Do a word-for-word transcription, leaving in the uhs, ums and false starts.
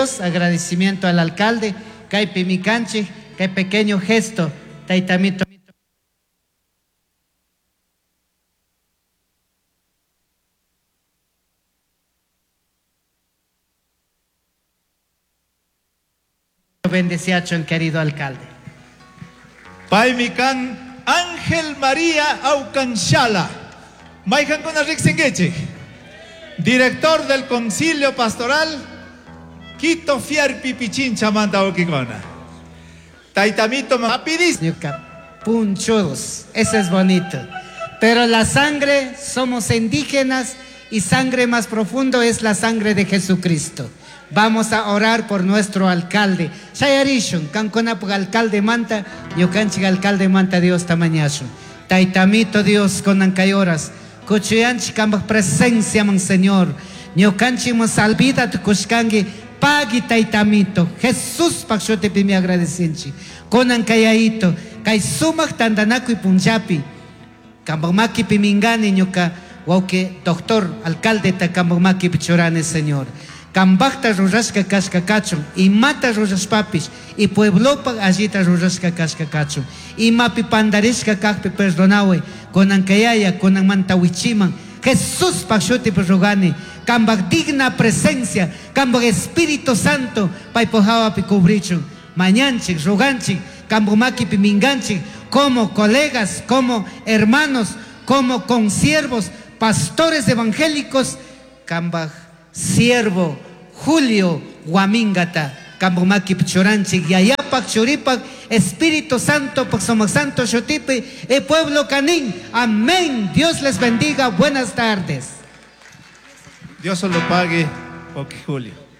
Agradecimiento al alcalde, kaypi mikanchik, kay pequeño gesto, taytamito. Bendeciachon, querido alcalde. Paymi kan Ángel María Aucanchala. Mayqankuna riqsinkichik. Director del Concilio Pastoral Quito Fierpi Pichincha manta wawkikuna. Taytamito rapidis. Punchudos, eso es bonito. Pero la sangre, somos indígenas y sangre más profundo es la sangre de Jesucristo. Vamos a orar por nuestro alcalde. Shayarishun, kankunapaq alcalde manta, ñukanchik alcalde manta Diosta mañashun. Taytamito Dios kunan kay horas. Kuchuyanchik kambaj presencia man Señor. Ñukanchik man salvida tukushkanki, pagui taytamito. Jesús pak shutipimi agradecinchik. Kunan kayayito, kay sumak tantanakuy punllapi. Kambaj makipi mingani ñuka wawqi doctor alcalde ta kambaj makipi churani Señor. Kambajta rurashka kashka kachun, imata rurashpapish, y pueblopak allita rurashka kashka kachun. Imapi pandarishka kakpi perdonawe, kunan kayaya, kunan manta wichiman. Jesús pak shutipi rogani, kambaj digna presencia, kambaj Espíritu Santo, paypaj hawapi cubrichun. Mañanchik, roganchik, kambaj makipi minganchik, como colegas, como hermanos, como consiervos, pastores evangélicos, kambaj siervo Julio Guamingata, kambaj makipi churanchik, yayapak, churipak, Espíritu Santo, pak sumak Santo shutipi, el pueblo canín. Amén. Dios les bendiga. Buenas tardes. Dios se lo pague, ok, Julio.